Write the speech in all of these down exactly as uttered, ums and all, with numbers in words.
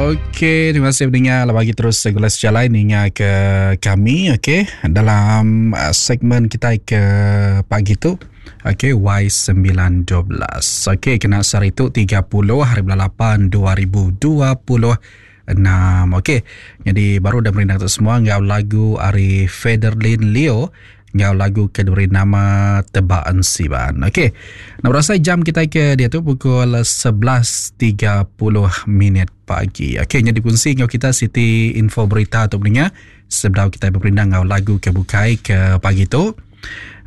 Okey, terima kasih mendengar bagi terus segala sejalai ninga ke kami, okey, dalam uh, segmen kita ke pagi tu. Okey, Y sembilan dua belas. Okey, kena sehari tu tiga puluh hari bulan lapan dua ribu dua puluh enam. Okey, jadi baru dah merindang tu semua ngau lagu ari Federlin Leo ngau lagu ke diberi nama Tebak Ensiban. Okey, nak berasa jam kita ke dia tu pukul sebelas tiga puluh minit pagi. Okey, jadi fungsi ngau kita Siti info berita tu pendengar sebelum kita berperindang ngau lagu ke bukai ke pagi tu.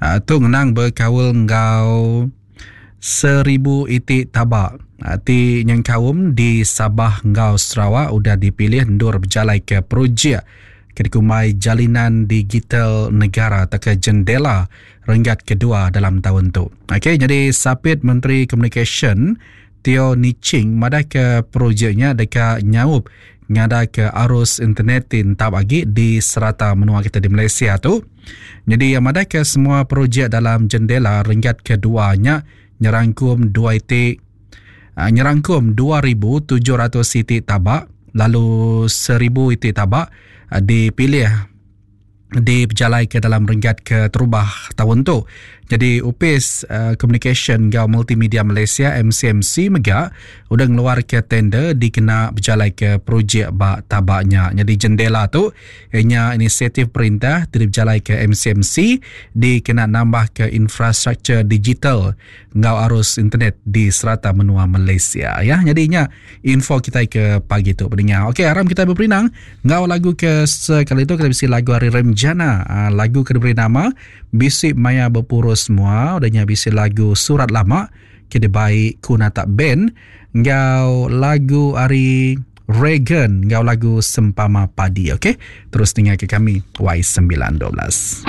Uh, tu ngenang berkaul ngau seribu itik tabak. Uh, ti nyengkaum di Sabah ngau Sarawak udah dipilih ndur berjalai ke projek Kedikumai Jalinan Digital Negara atau ke Jendela renggat kedua dalam tahun tu. Okey, jadi Sapit Menteri Communication Teo Nie Ching madah ke projeknya dekat nyaup ngada ke arus internet tentap agi di serata menua kita di Malaysia tu. Jadi yang madah ke semua projek dalam jendela renggat keduanya nyerangkum dua itik, ah, nyerangkum dua ribu tujuh ratus itik tabak lalu seribu itik tabak dipilih diberjalai ke dalam renggat ke terubah tahun tu. Jadi Upis uh, Communication Gau Multimedia Malaysia M C M C mega udah ngeluar ke tender dikena berjalai ke projek bak tabaknya. Jadi jendela tu ianya inisiatif perintah diberjalai ke M C M C dikena nambah ke infrastruktur digital ngau arus internet di serata menua Malaysia ya. Jadinya info kita ke pagi tu pendengar. Okey, aram kita berperinang ngau lagu ke sekali tu kita bisi lagu hari Remjana, uh, lagu ke diberi nama Bisik Maya Berpurus Semua, udahnya bisi lagu Surat Lama ke dibaik Kuna Tak Band ngau lagu ari Reagan ngau lagu Sempama Padi. Okey, terus dengar ke kami Y sembilan dua belas.